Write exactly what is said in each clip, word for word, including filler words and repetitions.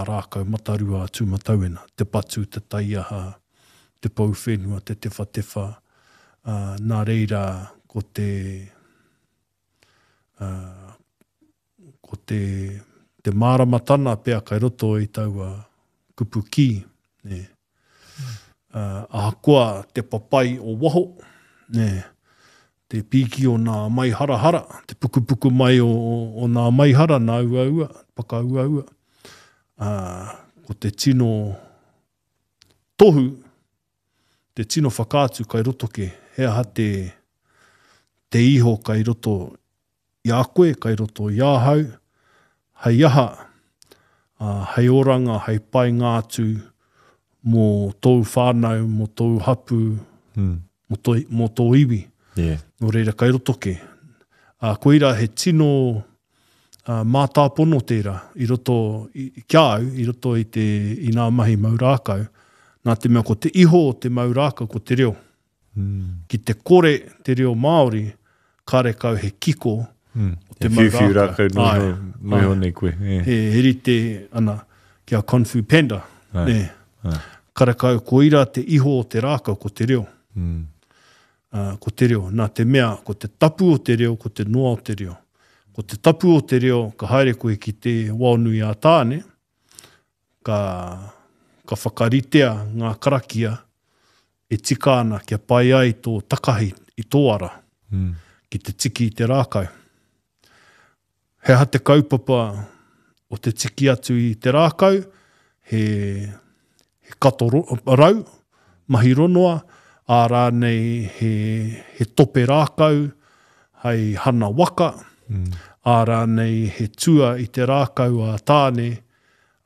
rākau matarua a Tūmatauena, te patu, te taiaha, te pou whenua, te tewhatewha, ā, nā reira ko te, ā, ko te, te māramatana pea kai roto i taua kupu kī, nē. Ā, ahakoa te papai o waho, nē, te pīki o nā maiharahara, te pukupuku mai o, o, o nā maihara, nā uaua, pakauaua, ā, ko te tino tohu, te tino whakaatu kai roto ke, he aha te, te iho kai roto i a koe, kai roto i ahau, hei aha, ā, hei oranga, hei painga atu mō tōu whānau, mō tōu hapū, mm. mō, tō, mō tō iwi. Yeah. Nō reira, kai roto ke. Ā, koira he tino ā, mātāpono tērā i roto, i, ki a au, i roto i, te, i ngā mahi mau rākau, nā te mea ko te iho o te mau rākau ko te reo. Mm. Ki te kore te reo Māori, karekau he kiko mm. o te mau rākau. rākau noa iho, noa iho nei koe. Yeah. He, he rite ana ki a Kung Fu Panda. Ai. Nē. Ai. Karekau koira te iho o te rākau ko te reo. Mm. Uh, ko te reo. Nā te mea, ko te tapu o te reo, ko te noa o te reo. Ko te tapu o te reo, ka haere koe ki te waonui a Tāne, ka, ka whakaritea ngā karakia e tika ana kia pai ai tō takahi i tō ara mm. ki te tiki i te rākau. He aha te kaupapa o te tiki atu i te rākau, he, he kato rau, mahi ronoa, ā rānei he, he tope rākau hei hana waka, mm. ā rānei he tua i te rākau a Tāne,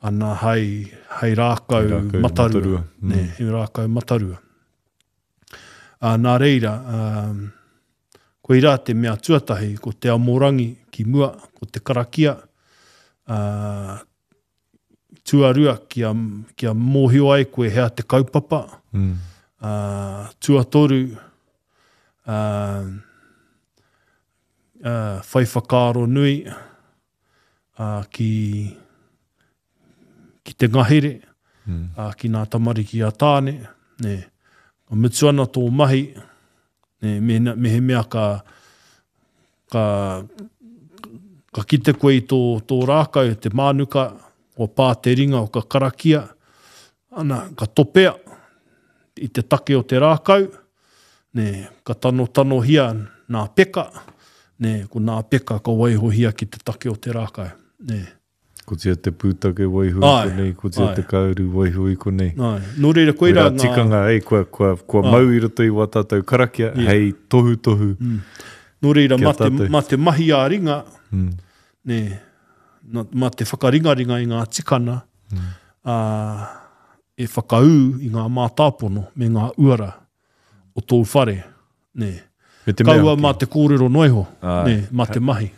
ana hei, hei rākau, rākau matarua. matarua. Mm. Nē, he rākau matarua. Ā, nā reira, um, koirā te mea tuatahi, ko te amorangi ki mua, ko te karakia, ā, tuarua kia, kia mōhio ai koe hea te kaupapa, mm. ā, tuatoru, ā, ā, whai whakaaro nui ā, ki, ki te ngahere, mm. ā, ki ngā tamariki a Tāne, nē. Ka mutu ana tō mahi, nē, mehemea, mehemea ka, ka, ka kite koe i tō, tō rākau, te mānuka, kua pā te ringa o ka karakia, ana, ka topea i te take o te rākau, nē, ka tanotanohia nā peka, nē, ko nā peka ka waihohia ki te take o te rākau, nē. Ko tia te pūtake waiho i konei, ko tia te kāuru waiho i konei. Ai. Nō reira, koirā ngā... tikanga, ei, kua, kua, kua ai. Mau i roto i wā tātou karakia, yeah. Hei tohutohu. Mm. Nō reira, mā te, mā te mahi ā-ringa, mm. nē, mā te whakaringaringa i ngā tikana, mm. ā, e whakaū i ngā mātāpono me ngā uara o tōu whare, nē. Me te mea Kaua hoki. mā te kōrero noa iho, Āe. nē, mā te mahi.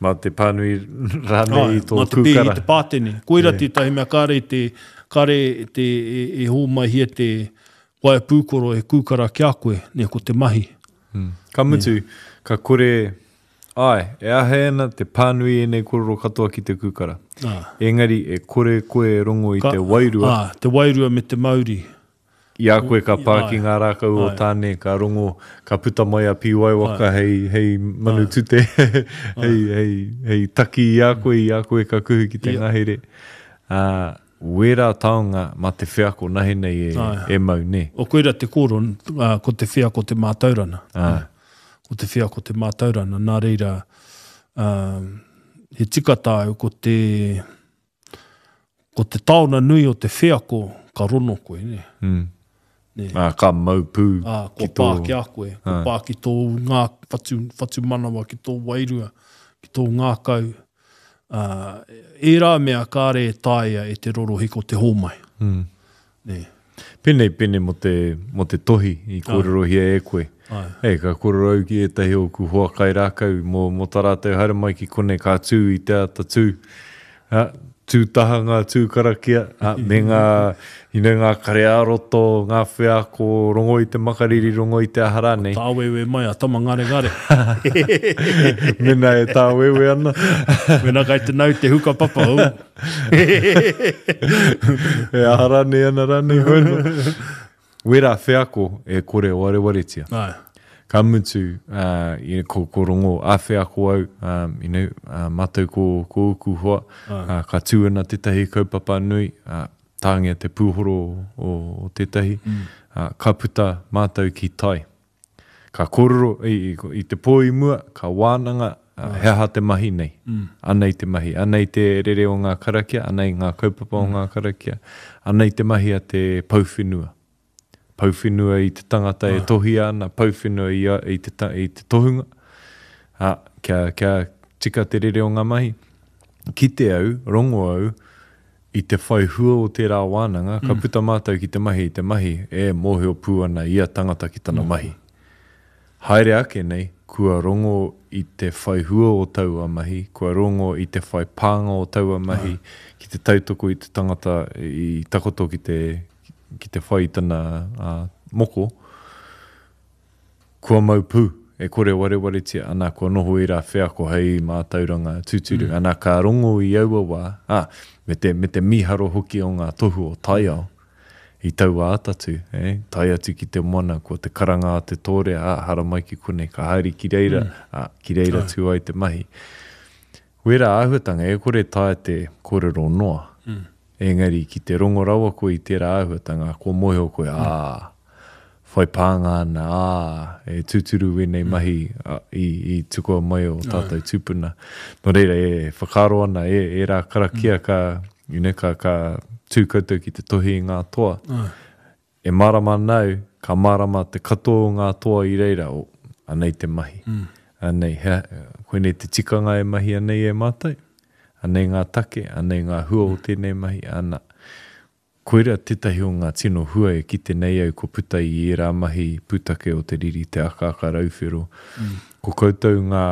Mā te pānui rānei i tō Mā te pēhi kūkara. te pātene. Koira Yeah. tētahi mea kāre te, kāre te, e, e hōmaihia te waea pūkoro e kūkara ki a koe, nē, ko te mahi. Mm. Ka mutu, ka kore, āe, e āhei ana te pānui ēnei kōrero katoa ki te kūkara. Ā. Engari, e kore koe e rongo i Ka, te wairua. Ā, te wairua me te mauri. I a koe ka pā ki ngā rākau o Tāne, ka rongo, ka puta mai a Pīwaiwaka hei, hei manu tute, hei, hei, hei taki i a koe, i a koe ka kuhu ki te ngahere. Ā, wērā taonga mā te wheako nahe nei e, e mau, nē? O koira te kōrero, ā, ko te wheako te mātaurana. Ā. Ko te wheako te mātaurana. Nā reira, ā, he tika tāu, ko te, ko te taona nui o te wheako ka rono koe, nē? Mm. Nē. Ā, ka mau pū Ā, kua ki tō... pā ki a koe, kua pā ki tō ngā, whatu, whatumanawa, ki tō wairua, ki tō ngākau. Ā, ērā mea kāre e taea e te rorohiko te hōmai. Mm. Nē. Pēnei, pēnei mō te, mō te tohi i kōrerohia e koe. Āe. Ei, ka kōrero au ki ētahi o ōku hoa kairākau mō, mō tā rātou haere mai ki konei ka tū i te ata tū. Ā, Tū taha ngā tū karakia, uh, me ngā, you know, ngā kare ā-roto, ngā wheako, rongo i te makariri, rongo i te aha rānei. Tāwewe mai a tama ngare ngare. Mena e tāwewe ana. Mena kai te nau te huka papa. Oh. E aha rānei ana rānei. Wera wheako e kore warewaretia. Ai. Ka mutu, uh, you know, ko, ko rongo a wheako au, um, you know, uh, mātou ko, ko uku hoa, uh, ka tū ana tētahi kaupapa nui, uh, tāngia te pūhoro o, o tētahi, mm. uh, ka puta mātou ki tai. Ka kōrero i, i, i te pō i mua, ka wānanga, uh, he aha te mahi nei. Mm. Anei te mahi, anei te rere o ngā karakia, anei ngā kaupapa o ngā karakia, anei te mahi a te pouwhenua. Pouwhenua i te tangata e tohia ana, pouwhenua i, a, i, te, i te tohunga, a, kia, kia tika te rere o ngā mahi. Kite au, rongo au, i te whai hua o tērā wānanga, ka mm. puta mātou ki te mahi i te mahi, e mōhio pū ana ia tangata ki tana mm. mahi. Haere ake nei, kua rongo i te whai hua o taua mahi, kua rongo i te whai pānga o taua mahi, mm. ki te tautoko i te tangata i takoto ki te, ki te whai tana uh, moko, kua mau pū, e kore warewaretia, ana kua noho i rā wheako hei mātauranga tūturu, mm. ana ka rongo i aua wā, ah, me te, me te miharo hoki o ngā tohu o taiao, i taua atatu, eh, tae atu ki te moana, ko te karanga a te tōrea, ah, haramai ki konei, ka haere ki reira, mm. ah, ki reira tū ai te mahi. Wera āhuatanga, e kore taea te kōrero noa. Mm. Engari, ki te rongo rawa koe i tērā āhuatanga, ko mōhio koe, mm. ā, whai pānga ana, ā, e tūturu wēnei mm. mahi a, i, i tukua mai o tātou tūpuna. Nō reira, e whakaaro ana, e, e rā karakia mm. ka, you know, ka, ka tū koutou ki te tohi i ngā toa. Mm. E mārama nau, ka mārama te katoa o ngā toa i reira, o, anei te mahi. Mm. Anei, he, koinei te tikanga e mahi anei e mātou. Anei ngā take, anei ngā hua o tēnei mahi, ana. Koira tētahi o ngā tino hua e kite nei au ko puta i ērā mahi pūtake o te riri te akaaka rauwhero. Mm. Ko koutou ngā,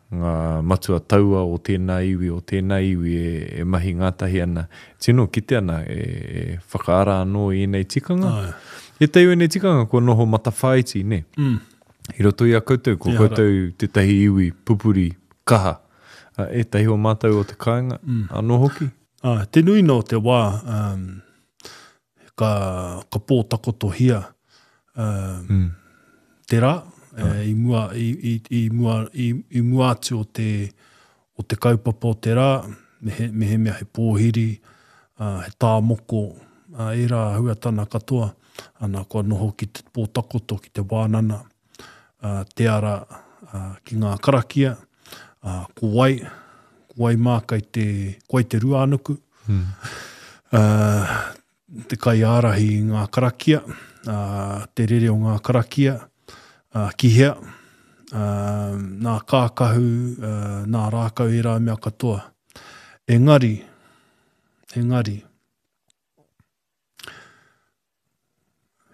ngā matua taua o tēnā iwi, o tēnā iwi e, e mahi ngātahi ana. Tino kite ana e, e whakaara anō i ēnei tikanga. Ai. E te ēnei tikanga kua noho matawhāiti, ne? Mm. I roto i a koutou, ko Ehara. koutou tētahi iwi pupuri kaha. Ētahi o mātou o te kāinga, mm. anō hoki. Ah, te nui nō te wā, um, ka, ka pōtakotohia um, mm. te rā, e, i, mua, i, i, i, mua, i, i mua atu o te, o te kaupapa o te rā, me he, me he mea he pōhiri, uh, he tāmoko, uh, ērā huatana katoa, ana kua noho ki te pōtakoto, ki te wānana, uh, te ara uh, ki ngā karakia, Uh, ko wai, ko wai mā kai te, ko wai te ruānuku, mm. uh, te kai ārahi i ngā karakia, uh, te rere o ngā karakia, uh, ki hea, uh, nā kākahu, uh, nā rākau e rā mea katoa. Engari, engari,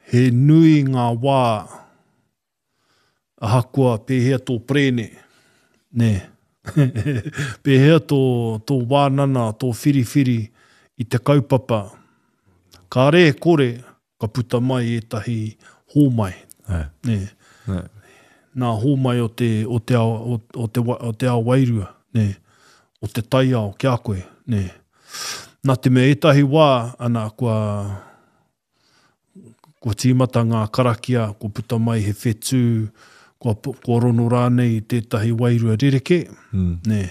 he nui ngā wā ahakoa pēhea tō prēne, nē, pēhea tō, tō wānana, tō whiriwhiri i te kaupapa, kāre e kore ka puta mai ētahi hōmai. Ai. Nē. Ai. Nā hōmai o te, o te ao, o, o te, o te ao wairua, nē. O te taiao ki a koe, nē. Nā te mea ētahi wā, ana, kua, kua tīmata ngā karakia, kua puta mai he whetū, kua, kua rono rānei i tētahi wairua rerekē, mm. nē.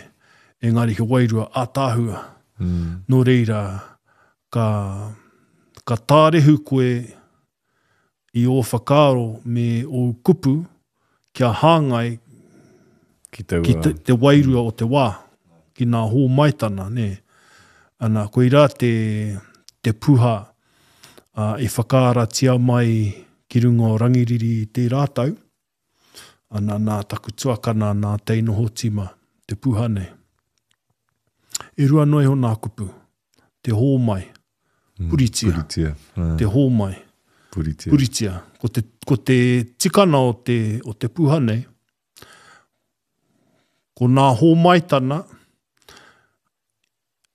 Engari he wairua ātaahua. Mm. Nō reira, ka, ka tārehu koe i ō whakaaro me ō kupu kia hāngai ki, taua... ki te, te wairua o te wā, ki ngā hōmaitana, nē. Ana, koirā te, te puha uh, i whakaaratia mai ki runga o Rangiriri i tērā tau, ana nā taku tuakana, nā Teinoho Tima, te puha nei. E rua noa iho nā kupu, te hōmai, puritia, Mm, puritia. Mm. te hōmai, puritia. puritia. Ko te, ko te tikana o te, o te puha nei, ko nā hōmaitana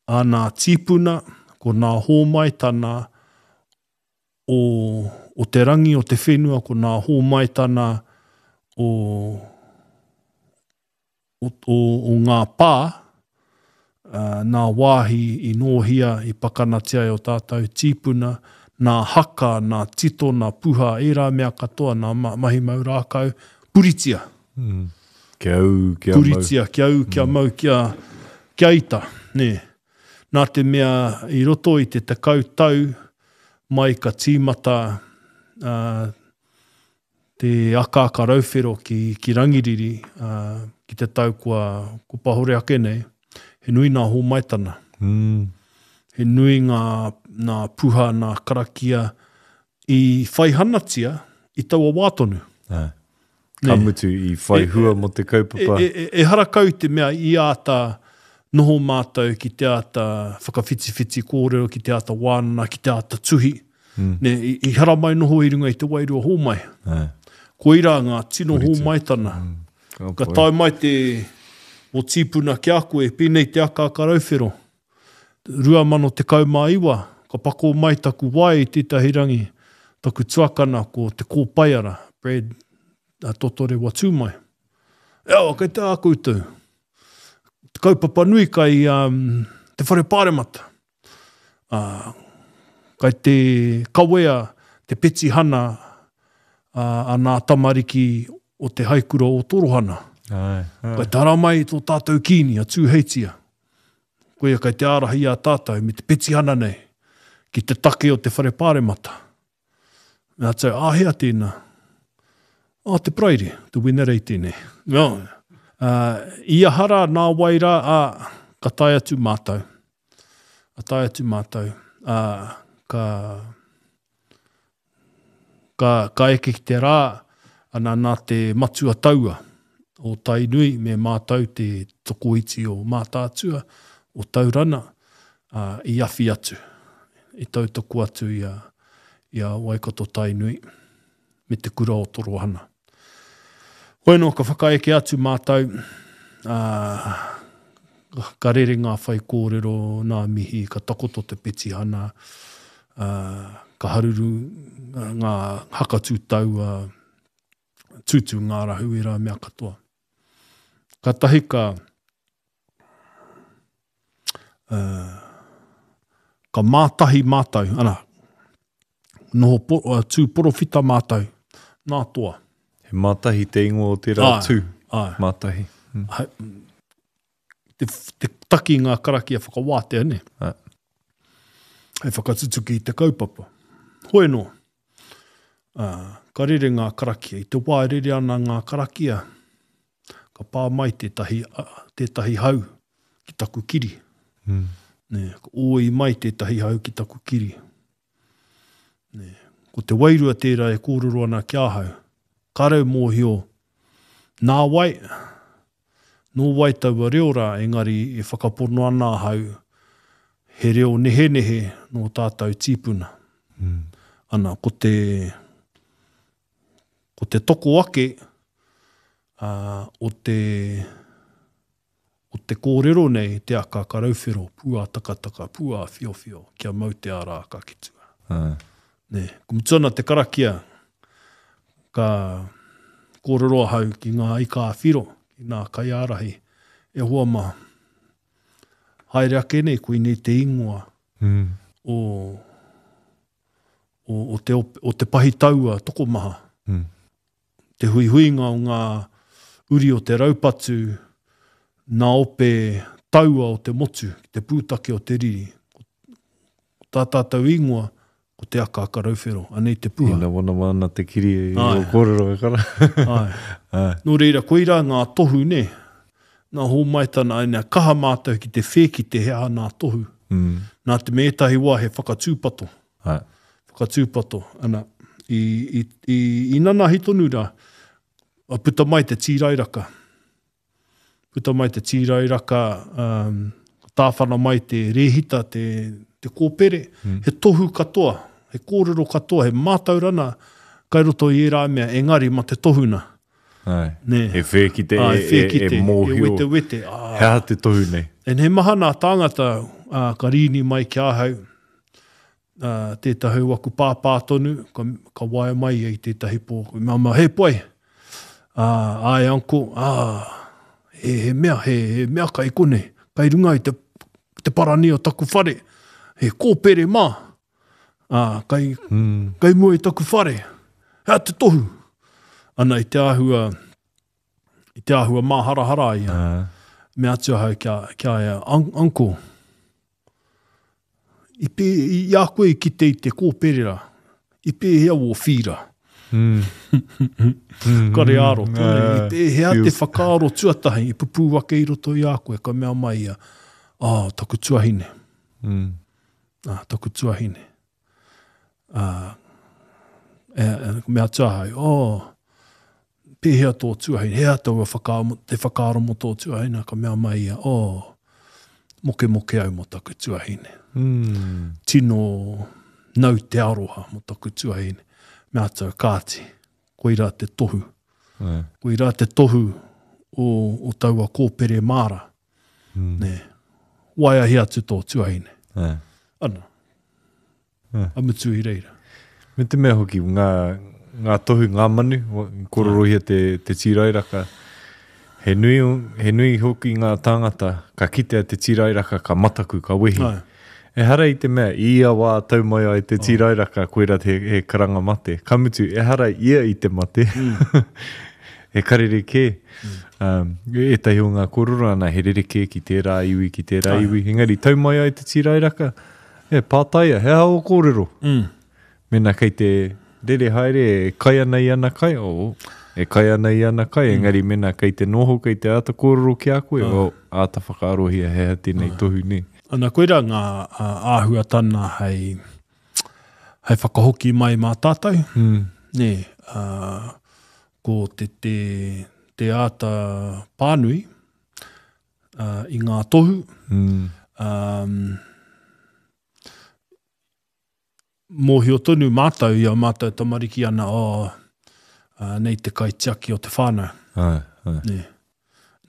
a nā tīpuna, ko nā hōmaitana o, o te rangi o te whenua, ko nā hōmaitana o, o, o, o ngā pā, uh, nā wāhi i nōhia, i pakanatia e o tātou tīpuna, nā haka, nā tito, nā puha, ērā mea katoa, nā mahi mau rākau, puritia. Mm. Kia au, kia puritia, mau. Kia au, kia mm. mau, kia, kia ita. Nē. Nā te mea i roto i te tekau tau mai ka tīmata uh, te akaaka rauwhero ki, ki Rangiriri, uh, ki te tau kua, kua pahore ake nei, he nui nā hōmaitana. Mm. He nui ngā, ngā puha, ngā karakia i whaihanatia i taua wā tonu. Ah. Ka mutu i whai hua mō te kaupapa. E, e, e, e harakau te mea i āta noho mātou ki te āta whakawhitiwhiti kōrero, ki te āta wānana, ki te āta tuhi. Mm. Ne, i, i haramai noho i runga i te wairua hōmai. Ah. Koirā ngā tino hōmaitana. Mm. Ka, ka tae mai te o tīpuna ki a koe, pēnei te akaaka rauwhero. rua mano tekau mā iwa, ka pako mai taku wae i tētahi rangi, taku tuakana ko te kōpaiara, Brad uh, Totorewa Tūmai. Eo, kei te a koutou. Te kaupapa nui kai um, te whare pāremata. Uh, kai te kawea te petihana uh, a nā tamariki o te haikura o Torohana. Ai, ai. Kai te haramai tō tātou kīni a Tūheitia. Koia kai te ārahi a tātou me te petihana nei ki te take o te whare pāremata. Nā tau, āhea tēnā? Ā, te Paraire, te Wenerei tēnei. No. Uh, i ahara nā wai rā, ā, ka tae atu mātou. Ka tae atu mātou. Ā, ka, ka, ka eke ki te rā, ana nā te matua taua o Tainui me mātou te tokoiti o Mātaatua, o Taurana, uh, i awhi atu, i tautoko atu i a, i a Waikato Tainui me te kura o Torohana. Hoi anō, ka whakaeke atu mātou, uh, ka rere ngā whai kōrero, nā mihi, ka takoto te petihana, uh, ka haruru ngā hakatū taua, tūtū ngā rahu e rā mea katoa. Ka tahi ka, uh, ka mātahi mātou, ana, noho po, uh, tū porowhita mātou, nā toa. He mātahi te ingoa o tērā Ai, tū. Ai. Mātahi. Mm. Hai, te, te taki ngā karakia whakawātea, ne? Ai. Hei whakatutuki i te kaupapa. Hoi anō, uh, ka rere ngā karakia. I te wā e rere ana ngā karakia, ka pā mai tētahi, tētahi hau ki taku kiri. Mm. Ne, ka oi mai tētahi hau ki taku kiri. Ne, ko te wairua tērā e kōrero ana ki ahau. Ka rau mōhio, nā wai, nō wai taua reo rā, engari e whakapono ana ahau, he reo nehenehe nō tātou tīpuna. Mm. Ana, ko te, ko te toko ake uh, o te o te kōrero nei, te akaaka rauwhero, pua takataka, pua whiowhio, kia mau te ara aka ki tua. Ah. Ne, ko mutu ana te karakia, ka kōrero ahau ki ngā ika a whiro, ki ngā kaiārahi, e hoa mā, haere ake nei, koinei te ingoa mm. o, o, o, te, o te pahi taua tokomaha. Mm. Te huihuinga o ngā uri o te raupatu, nā ope taua o te motu, ki te pūtake o te riri. Ko tā tātou ingoa, ko te akaaka rauwhero, anei te puha. Ina wana ana te kiri e Ai. o kōrero e kara. Ai. Ai. Nō reira, koirā ngā tohu, ne? Nā hōmaitana, ai, nā kaha mātou ki te whēki te hea nā tohu. Mm. Nā te me ētahi wā he whakatūpato. Ai. Whakatūpato, ana, i, i, i, i nanahi tonu rā, a puta mai te tīrairaka. Puta mai te tīrairaka, um, tāwhana mai te rēhita, te, te kōpere, Mm. he tohu katoa, he kōrero katoa, he mātaurana kai roto i ērā mea, engari ma te tohuna. Ai. Nē. E whēkite, Ai, e, e, whēkite, e mōhio. E wete wete. Ah. He aha te tohu nei? En he maha nā tāngata, uh, ka rīni mai ki ahau, uh, tētahi o aku pāpā tonu, ka, ka waia mai ia i tētahi pō. Ka mea mai, hei poi, uh, ai uncle, ah, he, he mea, he, he mea kai konei, kai runga i te, te parani o taku whare, he kōpere mā, uh, kai, Mm. kai mua i taku whare, hea te tohu. Ana i te āhua, i te āhua māharahara ia. Uh, Me atu ahau kia, kia ia, un, uncle, i, pē, i a koe i kite i te kōpere rā, i pēhea wō whīra. mm. mm. Kare āro, tōne, i Uh, pēhea te feels. whakaaro tuatahi, i pupū ake i roto i a koe, ka mea mai ia, ah, taku tuahine, Mm. ah, taku tuahine. Ah, e, e, mea atu ahau, oh, pēhea tō tuahine, hea taua whakaaro, te whakaaro mō tō tuahine, ka mea mai ia, oh, moke moke au mō taku tuahine. Mm. Tino nau te aroha mō taku tuahine. Mea atu, kāti, koirā te tohu. Uh, Koirā te tohu o, o taua kōpere māra. mm. Nē. Waiahi atu tō tuahine. Uh. Ana. Ah. A mutu i reira. Me te mea hoki, ngā, ngā tohu, ngā manu, wa- kororohia te, te tīrairaka, he nui, he nui hoki ngā tāngata, ka kitea te tīrairaka, ka mataku, ka wehi. Ai. Ehara i te mea, i ia wā tau mai ai te tīrairaka, koira he, he karanga mate. Ka mutu, ehara ia i te mate. He karere kē. Um, ētahi o ngā kōrero ana, he rere kē ki tērā iwi, ki tērā Ai. iwi. Engari, tau mai ai te tīrairaka, e pātaia, he aha o kōrero? Mm. Mena kei te rere haere, e kai ana i ana kai, oh, e kai ana i ana kai, mm. engari mena kei te noho, kei te āta kōrero ki a koe, oh, āta whakaarohia he aha tēnei tohu nei. Ana koirā ngā ā, āhuatana hei, hei whakahoki mai mā tātou. Mm. Nē, ā, ko te, te, te āta pānui ā, i ngā tohu. Mm. Um, mōhio tonu mātou i a mātou tamariki ana, oh, ā, nei te kaitiaki o te whānau. Ai, ai. Nē.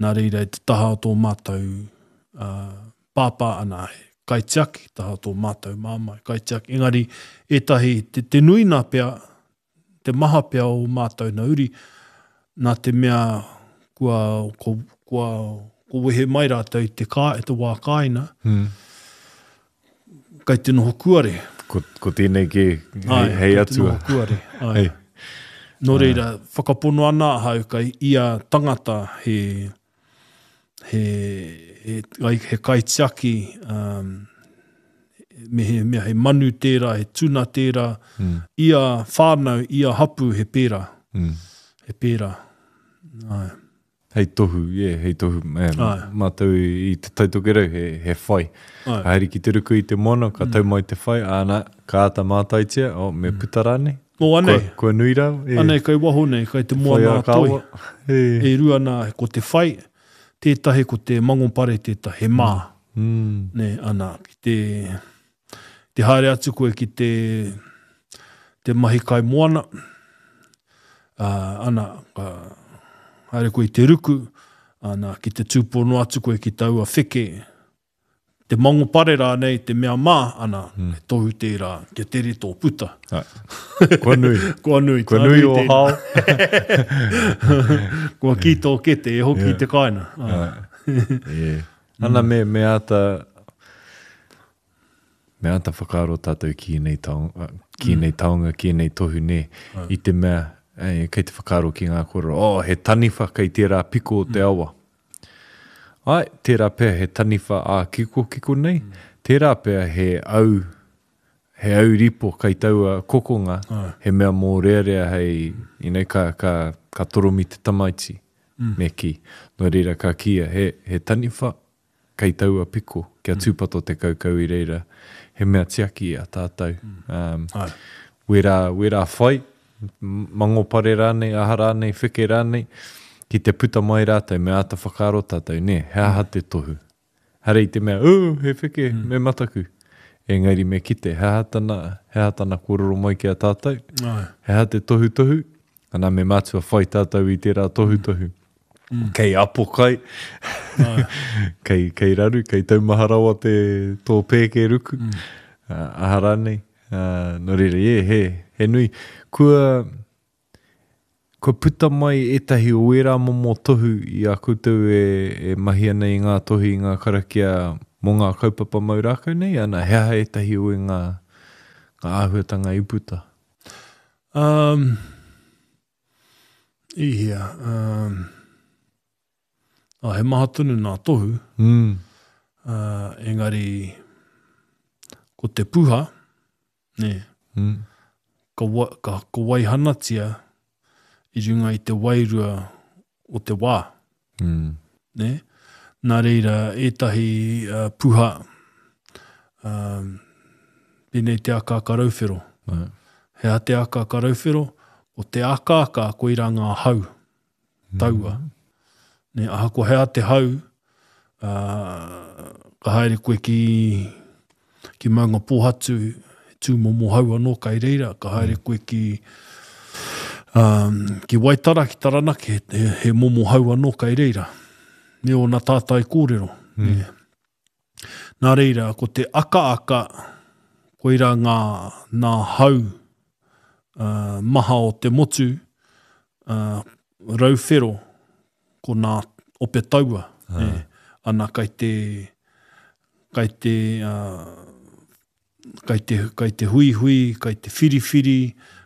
Nā reira i te taha o tō mātou ā, pāpā ana, he kaitiaki, taha o tō mātou māmā, he kaitiaki. Engari, ētahi, te, te nui nā pea, te maha pea o mātou nā uri, nā te mea kua, kua, kua, kua wehe mai rātou i te, kā, i te wā kāina, Mm. kai te noho kuare. Ko, ko tēnei kē, hei, Ai, hei kai te atua. noho kuare. Ai. Hei. Nō reira, whakapono ana ahau kai ia tangata he, he, he, he, he kaitiaki, um, me he, mea he manu tērā, he tuna tērā, Mm. ia whānau, ia hapu he pērā, Mm. he pērā. Ai. Hei tohu, yeah, hei tohu. Eh, Ai. mātou i, i te Taitokerau, he, he whai. Ai. Haere ki te ruku i te moana, ka tau mai te whai, āna, ka āta mātaitia, oh, me puta rānei. O, anei, Kua, kua nui rā. E, anei kai waho nei, kai te whai moana a a toi. kāwa. E. E rua nā, ko te whai, tētahi ko te mangopare tētahi, he mā. Mm. Nē, ana, ki te, te haere atu koe ki te, te mahi kai moana, uh, ana, ka haere koe i te ruku, ana, ki te tūpono atu koe ki taua wheke, te mangopare rānei, te mea mā, ana, mm. he tohu tērā, kia tere tō puta. Ai. Kua nui. Kua nui, Kua tā nui o tēnā. hao. Kua ki tō kete, e hoki Yeah. i te kāina. Ai. Ai. Yeah. Ana me, me āta, me āta whakaaro tātou ki ēnei taonga, ki ēnei taonga, ki ēnei tohu nē, i te mea, eh, kei te whakaaro ki ngā kōrero, oh, he taniwha kei tērā piko o te awa. Ai, tērā pea he taniwha ā kiko kiko nei, tērā pea he au, he au ripo kei taua kokonga, Ai. he mea mōrearea hei, you know, ka, ka, ka toromi te tamaiti, mm. me ki. Nō reira ka kia, he, he taniwha kei taua piko, kia tūpato te kaukau i reira, he mea tiaki a tātou. Um, Ai. wērā, wērā whai, m- mangopare rānei, aha rānei, wheke rānei, ki te puta mai rātou, me āta whakaaro tātou, nē, he aha te tohu. Hare i te mea, oh, he wheke, mm. me mataku. Engari me kite, he aha tana, he aha tana kōrero mai ki a tātou, Ai. he aha te tohutohu, ana me mātua whai tātou i tērā tohutohu. Mm. Kei apokai, kei, kei raru, kei taumaha rawa te tō pēke ruku, mm. uh, aha rānei. Uh, nō reira, yeah, he, he nui. Kua, kua puta mai ētahi o ērā momo tohu i a koutou e, e mahi ana i ngā tohu i ngā karakia mō ngā kaupapa mau rākau nei, ana, he aha ētahi o ngā, ngā āhuatanga i puta? Um, i hea, um, ah, he maha tonu nā tohu, mm. uh, engari ko te puha, ne, mm. ka, wa, ka, ka waihanatia i runga i te wairua o te wā. Mm. Ne? Nā reira, ētahi uh, puha, um, pēnei te akaaka rauwhero. Mm. He aha te akaaka rauwhero? O te akaaka koirā ngā hau, taua. Mm. Ne, ahakoa he aha te hau, uh, ka haere koe ki, ki Maunga Pōhatu, tūmomo hau anō kai reira, ka haere koe ki, um, ki Waitara, ki Taranaki, he, he momo hau anō kai reira. Me ōna tātai kōrero. Mm. Ne. Nā reira, ko te akaaka, koirā ngā, ngā hau uh, maha o te motu, uh, rauwhero, ko nā ope taua. Ah. Ne. Ana kai te, kai te, uh, kai te, kai te huihui, kai te whiriwhiri,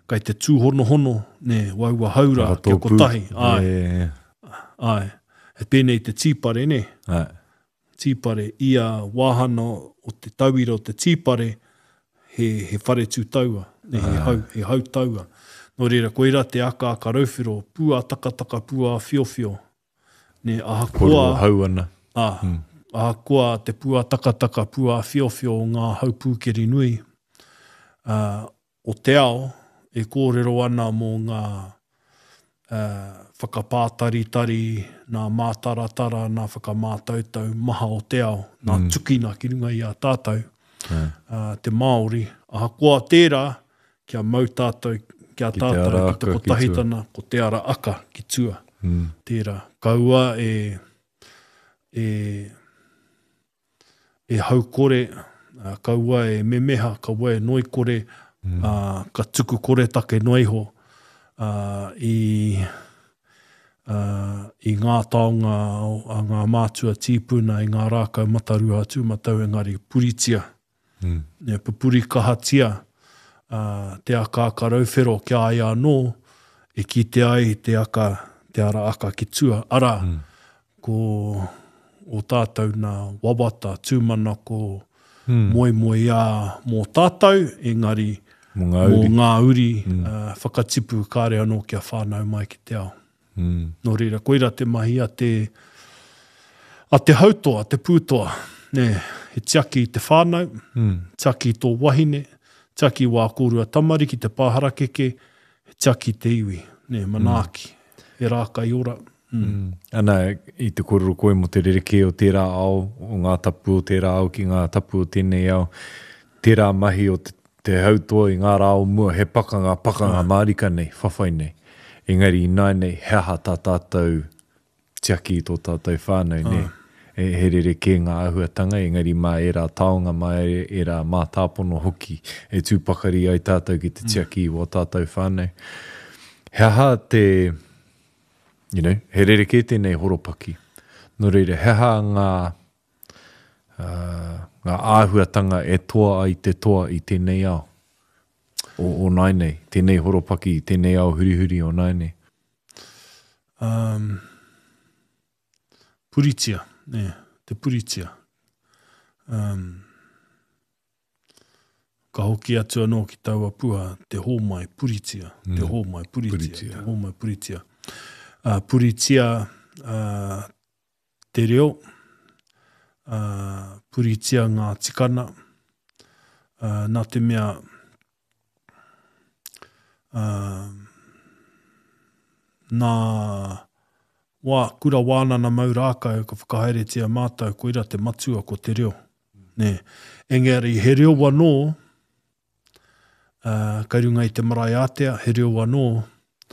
kai te tūhonohono, ne, waua haura, kia Whakatōpū. kotahi. Ai, Yeah, yeah. ai. He pēnei te tīpare, ne? Ai. Tīpare, ia wāhana o te tauira o te tīpare, he, he whare tū taua, ne, he, hau, he hau taua. Nō reira, koirā te akaaka rauwhero, pūā takataka, pūā whiowhio. Ne, ahakoa, Kōrero hau ana. Ah, mm. Ahakoa te pūā takataka, pūā whiowhio o ngā hau pūkeri nui, uh, o te ao e kōrero ana mō ngā uh, whakapātaritari, nā mātaratara, nā whakamātautau maha o te ao, nā mm. tukina ki runga i a tātou, mm. uh, te Māori. Ahakoa tērā, kia mau tātou, kia Ki te tātou ara ki te aka ki tua. kotahitana, ko te ara aka ki tua. Mm. Tērā, kaua e, e, e haukore, uh, kaua e memeha, kaua e noikore, mm. uh, ka tuku koretake noa iho uh, i, uh, i ngā taonga a ngā mātua tīpuna, i ngā rākau matarua tūmatau engari puritia. Mm. Ne, pupuri kahatia uh, te akaaka rauwhero kia ai anō, e kite ai te aka, te ara aka ki tua. Ara, Mm. ko o tātou nā wawata, tūmanako, Mm. moemoeā mō tātou, engari Mō ngā mō uri. ngā uri mm. uh, whakatipu kāre anō kia whānau mai ki te ao. Mm. Nō reira, koira te mahi a te, a te hautoa, te pūtoa. Ne, he tiaki i te whānau, Mm. tiaki i tō wahine, tiaki wā kōrua tamariki te pāharakeke, he tiaki te iwi, ne, manaaki, mm. he rākai ora. Mm. Mm. Ana, i te kōrero koe mō te rerekē o tērā ao, o ngā tapu o tērā ao ki ngā tapu o tēnei ao, tērā mahi o te, te hautoa i ngā rā o mua, he pakanga, pakanga mārika nei, whawhai nei. Engari i nai nei, he aha tā tātou tiaki i tō tātou whānau, ne? E, he rerekē ngā āhuatanga, engari mā ērā taonga, mā ērā mātāpono hoki, e tū pakari ai tātou ki te tiaki i wā tātou whānau. He aha te, you know, he rerekē tēnei horopaki. Nō reira, he aha ngā, uh, ngā āhuatanga e toa ai te toa i tēnei ao, o, o nai nei, tēnei horopaki, tēnei ao hurihuri o nai nei. Um, puritia, ne, te puritia. Um, ka hoki atu anō ki taua pua, te hōmai puritia, mm. te hōmai puritia, Puritia. te hōmai puritia. Uh, puritia uh, te reo, uh, puritia ngā tikana, uh, nā te mea uh, nā wā, kura wānana mau rākau ka whakahaeretia mātou, koira te matua ko te reo. Nē. Engari, he reo anō, uh, kai runga i te marae ātea, he reo anō,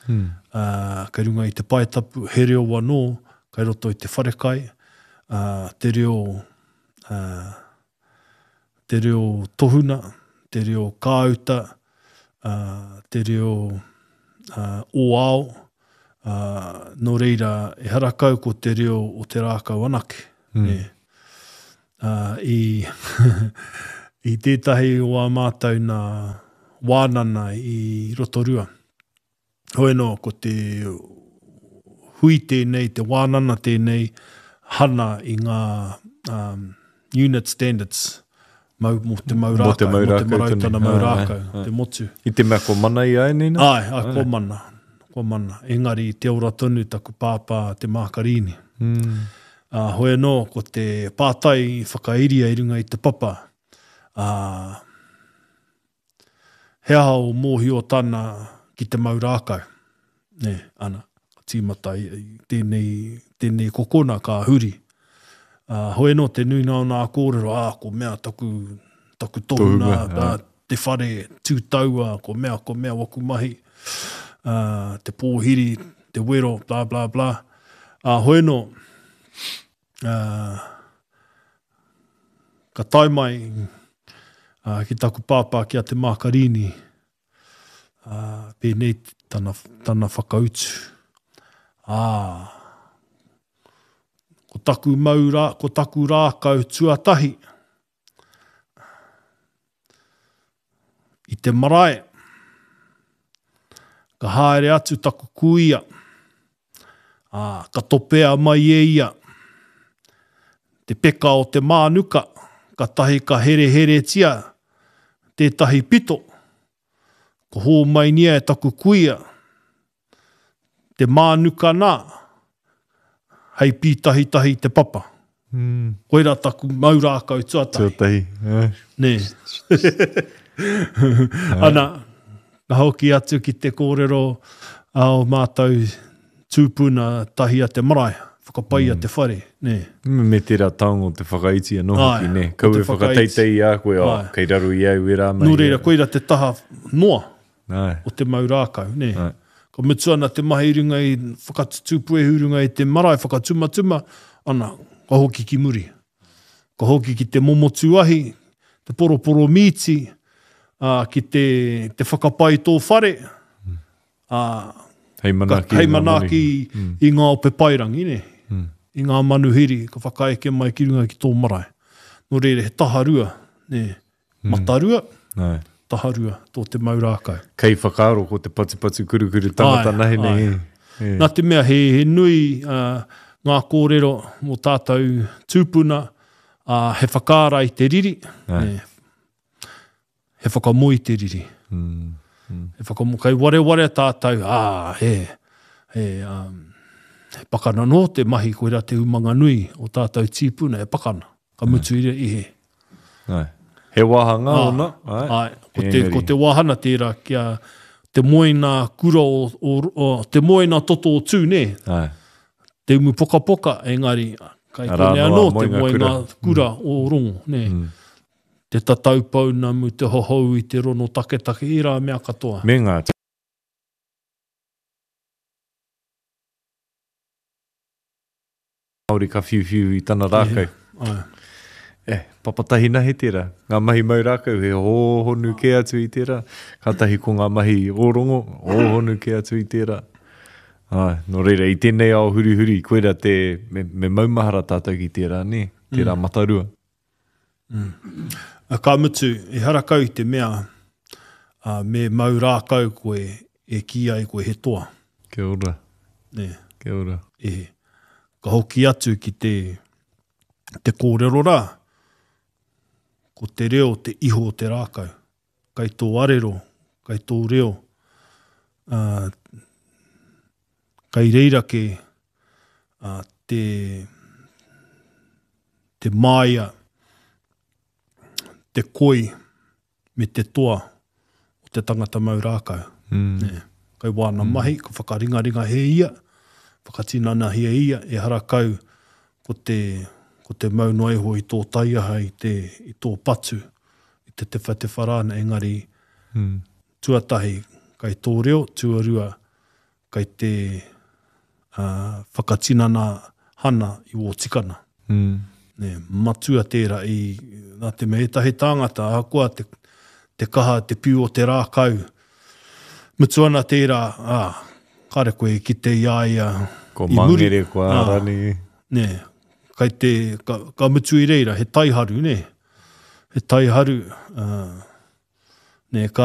Mm. uh, kai runga i te paetapu, he reo anō, kai roto i te wharekai, uh, te reo, uh, te reo tohuna, te reo kāuta, uh, te reo uh, oao, uh, nō reira, ehara kau ko te reo o te rākau anake. Mm. Ne. Uh, i, i tētahi o ā mātou nā wānana i Rotorua. Hoi anō, ko te hui tēnei, te wānana tēnei, hana i ngā um, unit standards mau, mō te mau rākau, mō te marautana mau rākau, te motu. I te mea ko mana i ai nei nā? Ai, ai, ko mana, ko mana. Engari, te ora tonu taku pāpā te Mākarīni. Mm. Uh, hoi anō, ko te pātai i whakairia i runga i te papa, uh, he aha o mōhiotana ki te mau rākau. Ne, ana, tīmata i tēnei, tēnei kokona ka huri. Uh, hoi anō te nui nā nā kōrero, ā, ko mea taku, taku tohuna, tā, te whare tūtaua, ko mea, ko mea waku mahi, uh, te pōhiri, te wero, bla, bla, bla. Uh, hoi anō, uh, ka tae mai uh, ki taku pāpā ki a te Mākarīni, uh, pēnei tana, tana whakautu. Ā, ko taku mau rā, ko taku rākau tuatahi i te marae, ka haere atu taku kuia, ā, ka topea mai e ia te peka o te mānuka, ka tahi ka hereheretia tētahi pito, ko hōmainia e taku kuia te mānuka nā, hei pītahitahi te papa. Mm. Koira taku mau rākau tuatahi. Tuatahi. Eh. Nē. Ana, ka hoki atu ki te kōrero a o mātou tūpuna tahi a te marae, whakapaia mm. te whare. Nē. Me tērā taonga o te whakaiti anō hoki, nē. Kau e whakateitei i a koe, oh, kei raru i au e rā mai. Nō reira, koira te taha noa Ai. o te mau rākau, nē. Ai. Ka mutu ana te mahi runga i whakatutū puehu runga i te marae, whakatumatuma, ana, ka hoki ki muri. Ka hoki ki te momotu ahi, te poroporo mīti, uh, ki te, te whakapai tō whare, uh, hei manaaki, ka, hei manaaki mm. i ngā ope pairangi, ne? Mm. I ngā manuhiri, ka whakaeke mai ki runga ki tō marae. Nō reira, he taharua, ne? Mm. Matarua, Ai. taharua, tō te mau rākau. Kei whakaaro ko te patupatu kurukuru tangata Ai, nahi nei. ai. Nā te mea, he, he nui uh, ngā kōrero mō tātou tūpuna, uh, he whakaara i te riri, Ai. ne, he whakamoi te riri. Mm. Mm. He whakamo, kai wareware tātou, ā, he, he, um, he pakana nō te mahi, koira te umanga nui o tātou tīpuna, he pakana. Ka mutu i i he. Ai. He wāhanga Ah, ona. Ai. Ai, ko te, Engari. ko te wāhana tērā kia te moena kura o, o, o te moena toto o tū, nē? Ai. Te umu pokapoka, engari, kai Arā kone noa anō te moenga moenga kura o rongo, nē? Mm. Te tatau pounamu, te hohou i te rono taketake, i rā mea katoa. Me ngā Māori ka whiuwhiu i tana rākau. Ai. Eh, papatahi nahi tērā. Ngā mahi mau rākau, he hōhonu kē atu i tērā. Kātahi ko ngā mahi ōrongo, hōhonu kē atu i tērā. Ai, nō reira, i tēnei ao hurihuri, koira te, me, me maumahara tātou ki tērā, nē? Tērā Mm. matarua. Mm. Ka mutu, e harakau i te mea, uh, me mau rākau koe e ki ai koe he toa. Kia ora. Nē. Kia ora. E, ka hoki atu ki te, te kōrero rā, ko te reo te iho o te rākau. Kai tō arero, kai tō reo, uh, kai reira ke uh, te, te māia, te koi me te toa o te tangata mau rākau. Mm. Nē. Kai wāna mm. mahi, ka whakaringaringa he ia, whakatinana he ia, e harakau ko te, ko te mau noa iho i tō taiaha, i, te, i tō patu, i te te whatewha rāna, engari mm. tuatahi kai tō reo, tuarua kai te uh, whakatinana hana i wō tikana. Mm. Nē, matua tērā i, nā te mea ētahi tāngata, ahakoa te, te kaha, te piu o te rākau, mutu ana tērā, ā, kāre koe i kite i a ia Ko i muri. Mangere, ko Ā, Arani. nē, kai te, ka, ka mutu i reira, he taiharu, nē, he taiharu, ā, nē, kāre